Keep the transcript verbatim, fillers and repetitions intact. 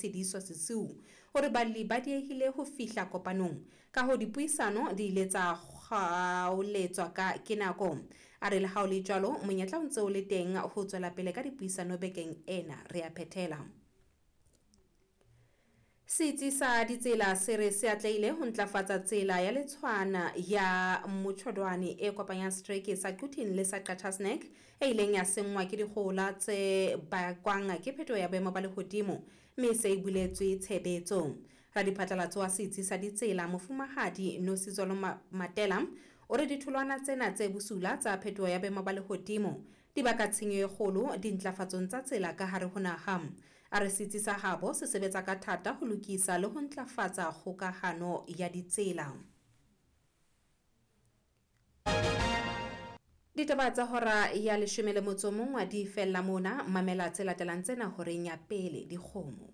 Tshediso Sesiu hore balli ba diehile ho fihla kopanong, ka hoo dipuisano di ile tsa kgaoletswa ka ke nako. A re le ha ho le jwalo monyetla o ntse o le teng ho tswela pele ka dipuisano bekeng ena re a phethela. Setsi sa ditsela se re se atlehile ho ntlafatsa tsela ya letshwana ya Motjhodwane e kopanyang setereke sa Quthing le sa Qacha's Nek e ileng ya senngwa ke dikgohola tse bakwang ke phetoho ya boemo ba lehodimo mme e se e buletswe tshebetso. Radiphatlalatso wa setsi sa ditsela Mofumahadi Nosizolo Matela o re ditholwana tsena tse bosula tsa phetoho ya boemo ba lehodimo di baka tshenyo e kgolo dintlafatsong tsa tsela ka hare ho naha. A re setsi sa habo se sebetsa ka thata ho lokisa le ho ntlafatsa kgokahano ya ditsela. Ditaba tsa hora ya leshome le motso o mong di fella mona, mamela tse latelang tsena horeng ya pele dikgomo.